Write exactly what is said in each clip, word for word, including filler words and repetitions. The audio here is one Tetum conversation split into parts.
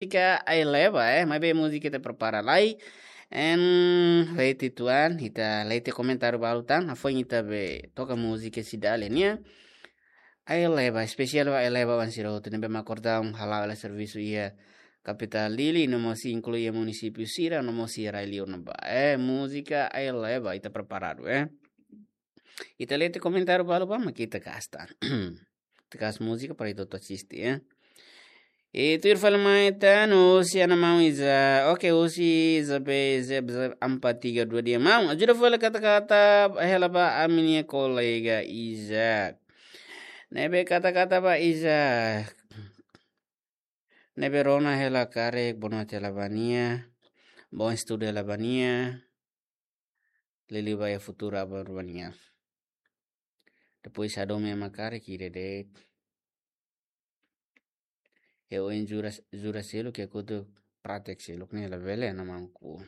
múzika Aileba, eh, maibé múzika ita prepara lai. En, leti tuan, ita leti komentáriu balu tan, hafoin ita be toka múzika Cidalia nian. Aileba, espesiál ba Aileba oan sira hotu ne'ebé mak kordang hala'o hela servisu iha kapitál Dili, no mós inklui iha munisípiu sira, no mós iha rai-liur ne'ebá. Eh, múzika Aileba, ita preparadu, eh. Ita leti komentáriu balu ba, mak ita gasta. Ita gasta múzika para ita atu asiste, eh. I tuir fali mai tan, husi ana maun Iza. Oke, husi Iza be, Iza, Iza, empat tiga dua dia. Maun, ajuda fali kata-kata hela ba ami-nia kolega Iza. Ne'ebé kata-kata ba Iza. Ne'ebé rona hela karik, boa noite hela ba nia. Bom estudo hela ba nia. Liuliu ba iha futuru aban-bainrua nian. Depois hadomi ema karik ida de'it. Iha oin jura, jura seluk, iha kotuk pratek seluk ne'e labele, ana maun Ku.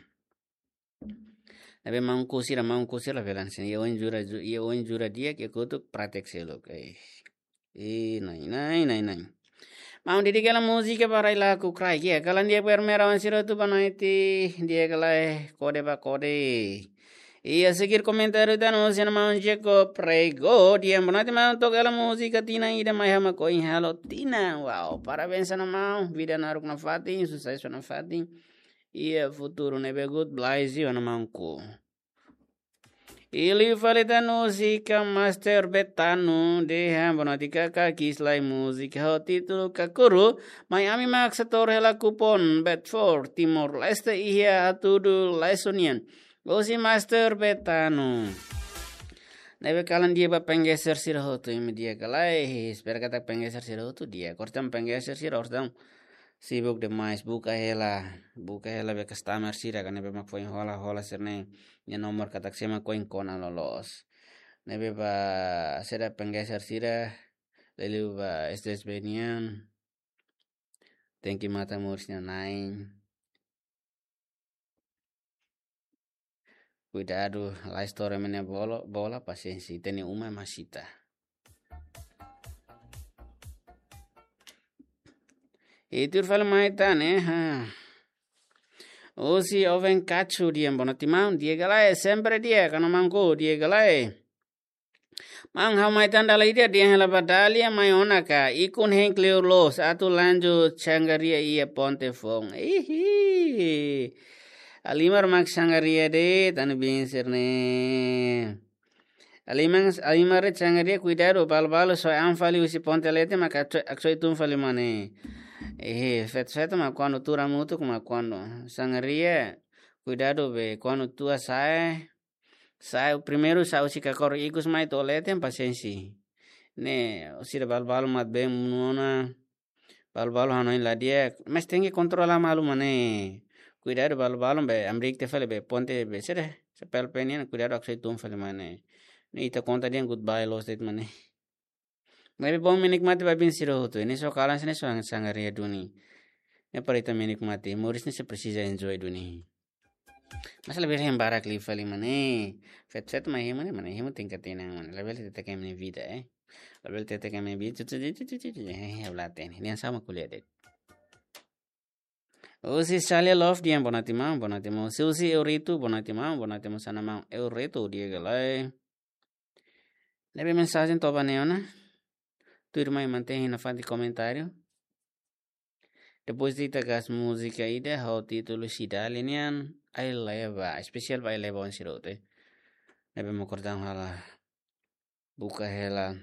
Ne'ebé maun Ku sira, maun Ku sira labele hanesan. Iha oin jura, ju-, iha oin jura di'ak, iha kotuk pratek seluk. Eh. Ih, nai, nai, nai, nai. Maun, di'ak hela múzika ba rai-laran kraik. Iha kalan di'ak ba ema oan sira hotu, boa noite. Di'ak hela, eh, kode ba kode. Iha seguir komentáriu tan husi ana maun Jacob Prego. Di'ak, boa noite maun, toka hela múzika tinan ida mai ha'u mak oin halo tinan. Wow, parabéns ana maun. Vida naruk nafatin, susesu nafatin. Iha futuru ne'ebé good, bless you ana maun Ku. I liu fali tan husi Ka Master Betano dehan, boa noite kaka, ki'ik lai múzika ho títulu Kakuru, mai ami mak setór hela kupon Bet Four Timor-Leste iha hatudu lai sunian. Husi Master Betano. Ne'ebé kalan di'ak ba penggeser sira hotu, imi di'ak ka lae, espera katak penggeser sira hotu di'ak. Orsida penggeser sira, orsida sibuk demais, buka hela, buka hela be customer sira, ka ne'ebé mak foin hola, hola sira-nia, nia nomor katak sé mak oin kona loloos. Ne'ebé ba saida penggeser sira, liuliu ba S D S B nian, tenke matan moris nia na'in. Kuidadu, la estoura ema nia bolo-, bola, pasiénsia, ita-nia uma ema sita. I tuir fali mai tan, eh, ha. Husi Oven Kachu dehan, boa noite maun, di'ak ka lae, sempre di'ak, ka ana maun Ku, di'ak ka lae. Maun, ha'u mai tan dala ida dehan hela ba Dália mai ona ka, ikun hein kleur loos, atu lanjut sangria iha ponte foun. Ihi. Halimar mak sangria de'it, anu biin sira-ne'e. Halimar, halimar de'it sangria, kuidadu, balu-balu soe an fali husi ponte leten mak aksoe, aksoe tun fali mane. Ihi, feto-feto mak kuandu tuur hamutuk mak kuandu. Sangria, kuidadu be, kuandu tua sa'e, sa'e, primeiru sa'e husi kakor ikus mai to'o leten pasiénsia. Ne'e, sira balu-balu mak been monu ona, balu-balu hanoin la di'ak, mas tenke kontrola malu mane. Kuidadu balu-balu be, amrik te fali be, ponte be, sira, sapel penian, kuidadu aksoe tun fali mane. Ne'e ita konta dehan goodbye loos de'it mane. Maibé bom menikmati ba biin sira hotu. Ne'e só kalan sira-ne'e só sangria duni. Ne'e para ita menikmati. Moris ne'e só presiza enjoy duni. Mas labele hein barak liu fali mane. Feto-feto mai hein mane, mane hein mak tenke hatene mane. Labele hateke ema nia vida, eh. Labele hateke ema nia vida. Tu, tu, tu, eh, ha'u la hatene. Nia sama kuliah de'it. Husi Salia Love dehan boa noite maun, boa noite maun. Husi Euritu, boa noite maun, boa noite maun, sana maun Euritu, di'ak ka lae. Ne'ebé mensajen to'o ba ne'e ona. Tuirmai mantein iha nafatin komentáriu. Depois ita gasta múzika ida ho títulu Cidalia nian, Aileba, espesiál ba Aileba oan sira hotu. Ne'ebé mak kordang hela, buka hela,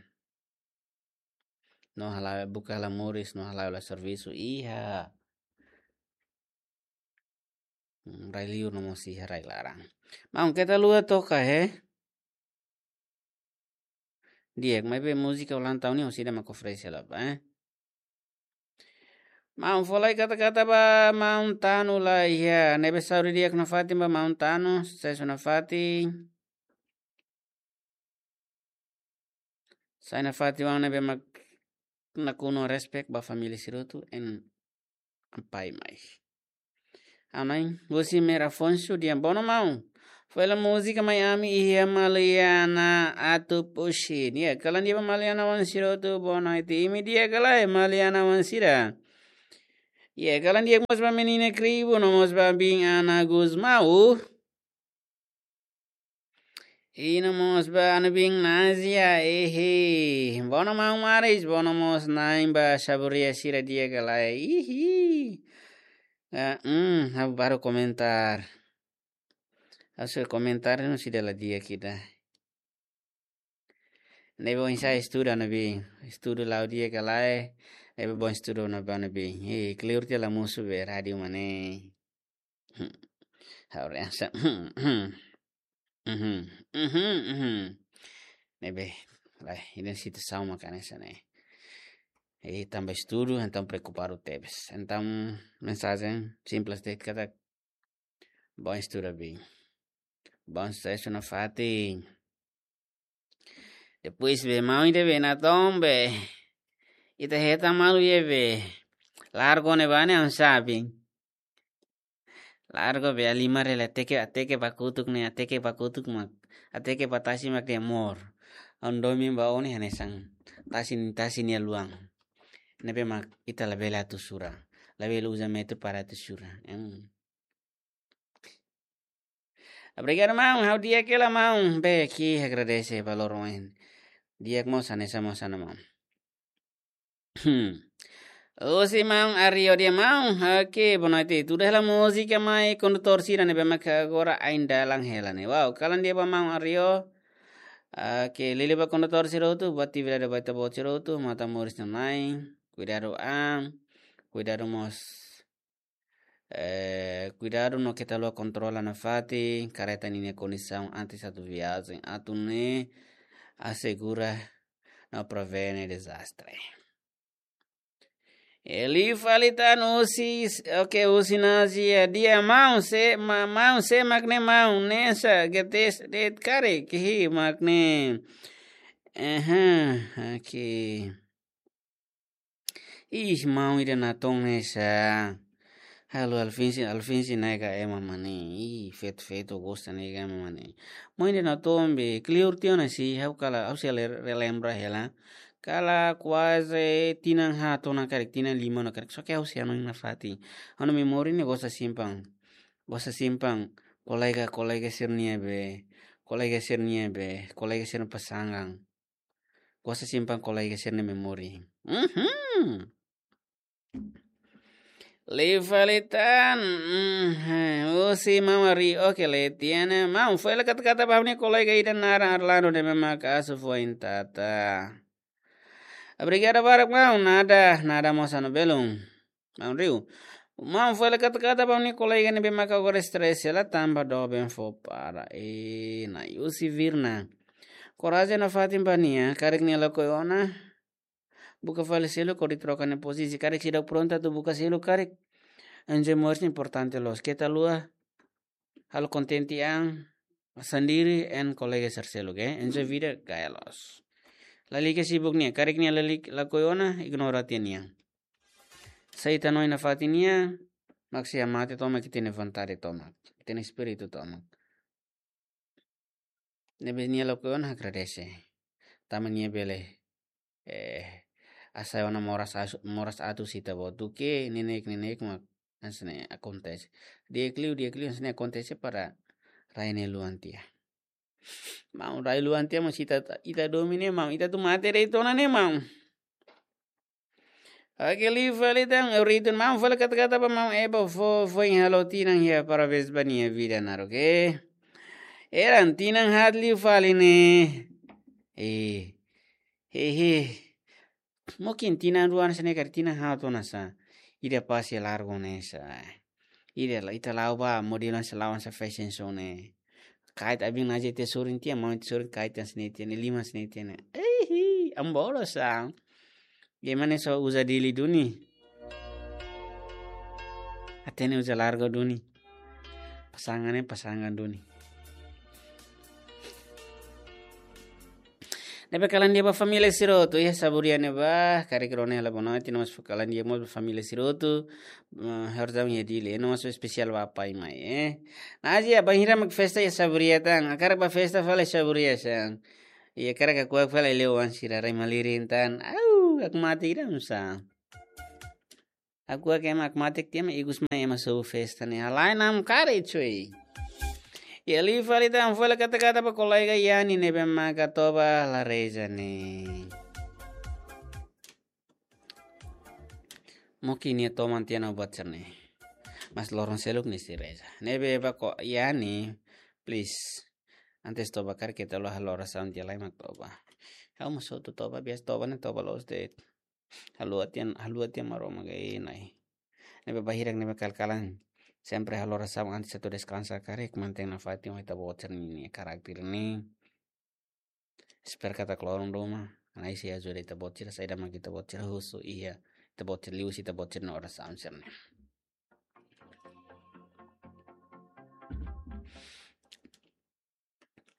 no hala'o, buka hela moris, no hala'o hela servisu iha, mm, rai-liur no mós iha rai-laran. Maun, keta haluha toka, he. Di'ak, maibé múzika ulang tahun ne'e orsida mak oferese hela ba, eh. Maun, fó lai kata-kata ba maun Tanu lai, ya. Ne'ebé saúde di'ak nafatin ba maun Tanu, susesu nafatin. Sai nafatin ba ne'ebé mak nakonu respect ba família sira hotu, en ampai mai. Ha'u-nia oan, husi Mera Afonso dehan boa noite maun. Fó hela múzika mai ami iha Maliana atu puxin. Ya, kalan di'ak ba Maliana oan sira hotu, boa noite. Imi di'ak ka lae Maliana oan sira. Iha kalan di'ak mós ba menina Kribu, no mós ba biin Ana Gusmão. I no mós ba Ana biin Nazia, ehe. Bono maun Maris, bono mós na'in ba saburia sira di'ak ka lae. Ihi. Ah, hmm, ha'u baru komentar. Ha'u sei komentar no sida la di'ak ida. Ne'ebé oinsá estuda Ana biin. Estuda la'o di'ak ka lae. Ne'ebé bom estuda Ana biin. Hei, kleur tiha la mosu be rádiu mak ne'e. Ha'u reansa. Mhm, mhm, mhm. Ne'ebé, lae, ida-ne'e situasaun mak hanesan ne'e. I tanba estudu, entaun preokupadu tebes. Entaun, mensajen simples de'it katak, bom estuda biin. Bom susesu nafatin. Depois be maun ida be natoon be. Ita hetan malu iha be. Largo ne'ebá ne'e ha'u sabe. Largo be halimar hela hateke, hateke ba kotuk ne'e, hateke ba kotuk mak. Hateke ba tasi mak de'it amor. Ha'u domin ba ó ne'e hanesan tasi, tasi nia luan. Ne'ebé mak ita labele atu sura. Labele uza metru para atu sura. Em. Obrigadu, maun. Ha'u di'ak hela, maun. Be, ha'u agradese valór oin. Di'ak mós hanesan mós Ana, maun. Hmm. Husi maun Ario de'it, maun. Oke, boa noite. Tuda hela múzika mai kondutór sira ne'ebé mak agora ain dalan hela ne'e. Wow, kalan di'ak ba maun Ario. Oke, liuliu ba kondutór sira hotu, ba atividade ba ita-boot sira hotu, matan moris nanain. Kuidadu an. Kuidadu mós. Eh, kuidadu no keta haluha kontrola nafatin, karreta ninia kondisaun antes atu viajen, atu nune'e asegura no prevene dezastre. Liu fali tan husi, oke, husi Nazia, di'ak maun, sé, ma-, maun, sé mak ne'e maun, ne'e sá, G T S de'it karik, hi mak ne'e. Aha, oke. Ih, maun ida natoon ne'e sá. Halo Alfinsi, Alfinsi ne'e ka ema mane. Ih, feto-feto gosta ne'e ka ema mane. Maun ida natoon be, kleur tiha ona si, ha'u kala, ha'u sei le-, relembra hela. Kala kuaze tinan haat ona karik, tinan lima ona karik. Só ke ha'u sei hanoin nafatin. Ha'u-nia memória ne'e gosta simpan. Gosta simpan kolega, kolega sira-nia be, kolega sira-nia be, kolega sira-nia pasangan. Gosta simpan kolega sira-nia memória. Mhm. Liu fali tan, mhm, husi maun Ari, oke, leten ona. Maun, fó hela kata-kata ba ha'u-nia kolega ida naran Arlando ne'ebé mak asu foin tata. Obrigadu barak, maun, nada, nada mós ha'u-nia belun. Maun Rio. Maun, fó hela kata-kata ba ha'u-nia kolega ne'ebé mak agora stress hela tanba doben fó para. E, Nayusi Virna. Korajen nafatin ba nia, karik nia lakohi ona. Buka fali seluk hodi troka nia pozisi. Karik seidauk prontu atu buka seluk karik. Enjoy moris importante loos. Keta haluha halo kontente an sendiri and kolega sira seluk, eh. Enjoy vida, gaya loos. Lalika sibuk nia, karik nia lalika lakohi ona, ignora tiha nia. Sai ita hanoin nafatin nia, mak sei hamate tomak ita-nia vontade tomak, ita-nia espíritu tomak. Ne'ebé nia lakohi ona agradese. Tanba nia bele, eh, hasai ona moras asu-, moras atu husi ita-boot duké, neineik, neineik mak hanesan ne'e akontese. Di'ak liu, di'ak liu hanesan ne'e akontese para rai ne'e luan tiha. Maun, rai luan tiha, maun, se ita, ita domin ne'e, maun, ita atu mate de'it ona ne'e, maun. Oke, liu fali tan, eu ritu, maun, fó hela kata-kata ba maun Eba fó, foin halo tinan iha, parabéns ba nia vida naruk, eh. Eran tinan haat liu fali ne'e. Eh. Hehe. Mungkin tinan rua hanesan ne'e karik, tinan haat ona sá. Ida pase largo ne'e sá. Ida la, ita la'o ba modelu hanesan la'o hanesan fashion show ne'e. Kait abin naje te sorin tiha, maun te sorin kait hanesan ne'e tiha ne'e, liman hanesan ne'e tiha ne'e. Eihi, ambolo sá. Ema ne'e só uza Dili duni. Hatene uza largo duni. Pasangan ne'e pasangan duni. Ne'ebé kalan di'ak ba família sira hotu, iha saburia ne'ebá, karik rona hela bonoite, no mós kalan di'ak mós ba família sira hotu, eh, ha'u-nia iha Dili, no mós espesiál ba apá i amá, eh. Nazia, bainhira mak festa iha saburia tan, hakarak ba festa fali saburia sá. Iha hakarak kuak fali leo wan sira rai malirin tan, au, ha'u mate ida nusá. Aku ake ema akmatek tiha ema ikus mai ema sobu festa ne'e. Halai nam kare cuy. Iha liu fali tan foin la kata-kata ba kolega Yani ne'ebé maka toba la reza ne'e. Mungkin nia toman tiha ona buat sira-ne'e. Mas loron seluk nia sei reza. Ne'ebé ba ko Yani, please. Antes toba karik keta haluha halo orasaun tiha lai mak toba. Ha'u mós hotu toba, biasa toba ne'e toba loos de'it. Haluha tiha, haluha tiha Maromak gai nai. Ne'ebé ba hirak ne'ebé kal-kalan sempre halo orasaun antes atu deskansa karik mantein nafatin ho ita-boot sira-nia karakter ne'e. Espera katak loron ruma Na'i sei ajuda ita-boot sira, saida mak ita-boot sira husu iha ita-boot sira liuhusi ita-boot sira-nia orasaun sira-ne'e.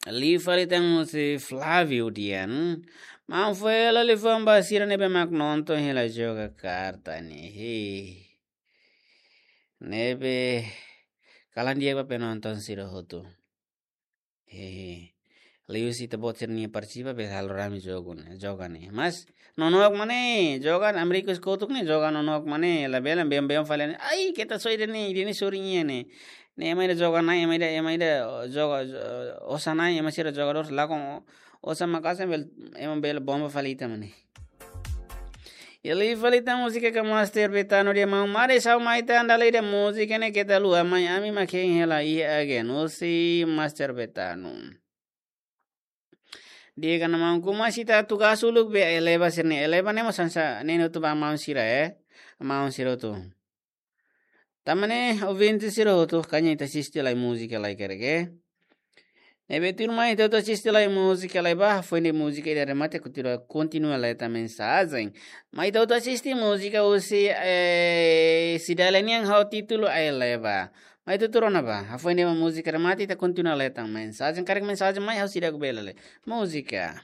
Liu fali tan husi Flávio Dian. Maun foin hela liafuan ba sira ne'ebé mak nonton hela joga karta ne'e. He. Ne'ebé kalan di'ak ba penonton sira hotu. He. Liuhusi ita-boot sira-nia partisipa be halo rame jogu ne'e, joga ne'e. Mas nonook mak ne'e, joga Amérika kotuk ne'e, joga nonook mak ne'e, labele beom-beom fali ne'e. Ai, keta só ida-ne'e, ida-ne'e sorin iha ne'e. Ne'e ema ida joga na'in, ema ida, ema ida, o, joga, o, osan na'in, ema sira jogadór lakon, o, osan maka'as bele, ema bele bomba fali ita mak ne'e. Iha liu fali tan múzika ka Master Betano dehan maun mari sau mai tan dala ida múzika ne'e keta haluha mai ami mak hein hela iha agen husi Master Betano. Di'ak ona maun kuma sita tugas uluk be eleva sira-ne'e. Eleva ne'e mós hanesan ne'e hotu ba maun sira, eh. Maun sira hotu. Tanba ne'e ouvinte sira hotu karik ita asiste lai múzika lai karik, eh. Ne'ebé tuirmai ita hotu asiste lai múzika lai ba, foin de'it múzika ida remata kontinua, kontinua lai tan mensajen. Mai ita hotu asiste múzika husi, eh, Cidalia nian ho títulu Eleva. Mai ita hotu rona ba, hafoin de'it múzika remata ita kontinua lai tan mensajen, karik mensajen mai ha'u seidauk bele lee. Múzika.